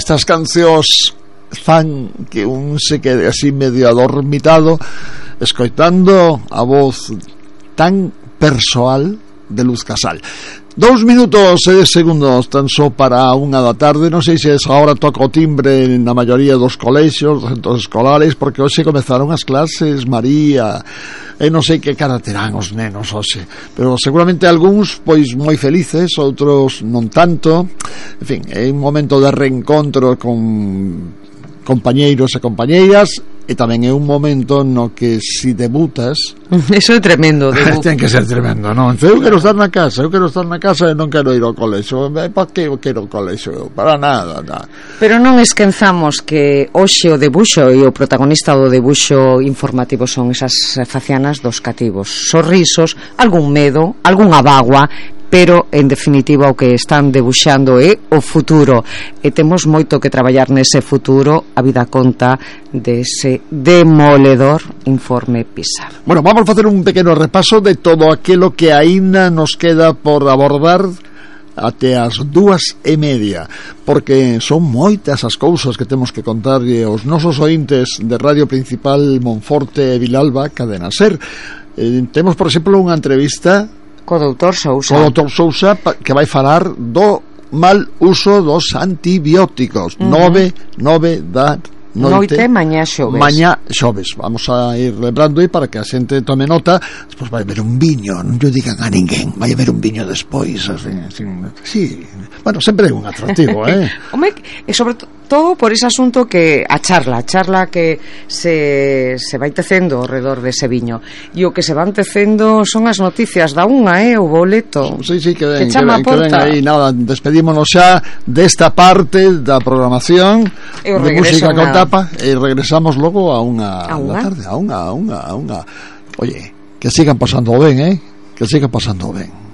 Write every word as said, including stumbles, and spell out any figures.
estas cancións fan que un se quede así medio adormitado escoitando a voz tan persoal de Luz Casal. Dous minutos e dez segundos tan só para unha da tarde. Non sei se esa hora toca o timbre na maioría dos colexios, dos centros escolares, porque hoxe comezaron as clases, María, e non sei que cara terán os nenos hoxe, pero seguramente algúns pois moi felices, outros non tanto. En fin, é un momento de reencontro con compañeiros e compañeiras, e tamén é un momento no que si debutas, eso é tremendo, debut. Ten que ser tremendo, non? Eu quero estar na casa, eu quero estar na casa e non quero ir ao colexo. Para que eu quero o colexo? Para nada, nada. Pero non esquenzamos que hoxe o debuxo e o protagonista do debuxo informativo son esas facianas dos cativos, sorrisos, algún medo, algunha bagua, pero en definitiva o que están debuxando é o futuro, e temos moito que traballar nese futuro. A vida conta dese demoledor informe PISA. Bueno, vamos a facer un pequeno repaso de todo aquilo que aínda nos queda por abordar até as dúas e media, porque son moitas as cousas que temos que contarlle aos nosos ointes de Radio Principal Monforte e Vilalba, Cadena Ser. Eh, temos, por exemplo, unha entrevista co doutor Sousa, co doutor Sousa, que vai falar do mal uso dos antibióticos. uh-huh. nove, nove da noite, noite mañá xoves. Mañá xoves. Vamos a ir lembrando aí para que a xente tome nota. Despois vai haber un viño, non lle digan a ninguén, vai haber un viño despois, así, así. Sí, bueno, sempre é un atractivo, eh? Home, e sobre todo por ese asunto que a charla, a charla que se, se vai tecendo ao redor dese viño, e o que se van tecendo son as noticias da unha, eh, o boleto. Sí, sí, que ven, que que ven, que ven aí. Nada, despedímonos xa desta parte da programación de música con tapa, e regresamos logo a unha da tarde, a unha, a unha, a unha. Oye, que sigan pasando ben, eh? Que sigan pasando ben.